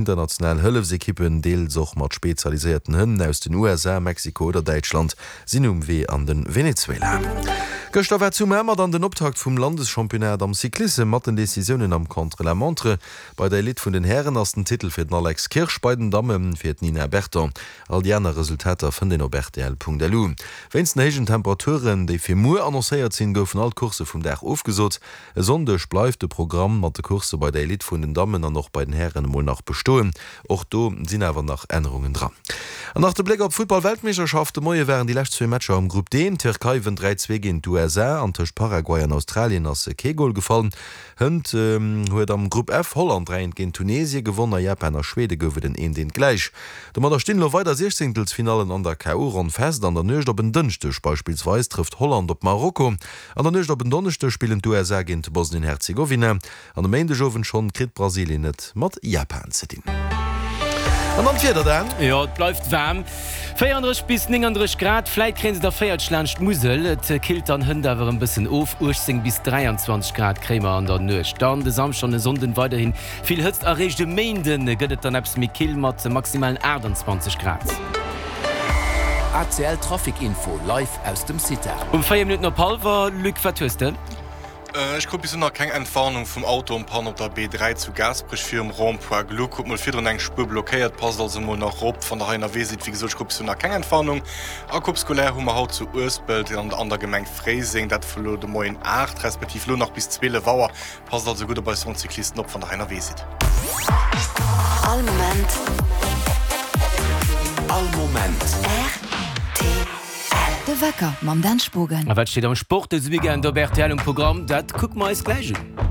International Hëllefsekippen, deels och mat spezialiséierten Hënn aus den USA, Mexiko oder Däitschland, sinn um Wee an de Venezuela. Gëschter war zu Mamer dann den Optakt vum Landeschampionnat am Cyclissem mat den Decisiounen am Contre-la-montre. Bei der Elite vun den Hären ass den Titel fir den Alex Kirsch, bei den Damme fir d'Nina Berton. All déi aner Resultater fënnt een op rtl.lu. Wéinst den héijen Temperaturen, déi fir muer annoncéiert sinn, goufen all d'Coursse vum Dag ofgesot. E Sonndeg bleift de Programm mat de Coursse bei der Elite vun den Dammen an och bei den Hären emol nach bestoen. Och do sinn awer nach Ännerungen dran. An nach de Bléck op d'Futtball-Weltmeeschterschaft, De Moie waren déi lescht zwee Matcher am Grupp D. D'Tierkei wënnt 3, 2 géint d'USA an tëscht Paraguay an Australien ass kee Gol gefall. Hënt huet am Grupp F Holland 3, 1 géint Tunesie gewonn. A Japan a Schwede gouf et en 1, 1 gläich. Domadder stinn elo weider Siechzéngtelsfinallen an der KO-Ronn fest. An der Nuecht op en Dënschdeg beispillsweis trëfft Holland op Marokko. An der Nuecht op en Donneschdeg spillen d'USA géint Bosnien-Herzegowina an e Méindegowend schonn kritt Brasilien et mat Japan ze dinn. An dann d'Wieder, Dan. Jo, et bleift waarm, 34 bis 39 Grad, vläit kréien se der 40 laanscht d'Musel. Et killt dann hënt awer e bëssen of, 18 bis 23 Grad kréie mer an der Nuecht. Dann de Samschden an e Sonnden weiderhi vill Hëtzt a réischt e Méinde gëtt et dann eppes méi kill mat maximalen 28 Grad. ACL Trafic Info live aus dem CITA. Um 4 Minutten op hallwer, Luc, wat hues de? Ech krut bis elo nach keng Entwarnung vum Auto en panne op der B3 zu Gaasperech virum Rond-point Gluck. Huet mol virdrun eng Spuer blockéiert, passt also mol nach rop wann der hei ënnerwee sidd. Wéi gesot, ech krut bis elo nach keng Entwarnung. A Coupe scolaire hu mer haut zu Uespelt an der Gemeng Fréiseng, dat vu lo de Moien 8 respektiv lo nach bis 12 Auer. Passt also gutt op eis Roncyclisten op, wann der hei ënnerwee sidd. All Moment. All Moment. Rtl. De Wecker mam Dan Spogen. A wat steet am Sport dëse Weekend op rtl um Programm? Dat kucke mer eis gläich un.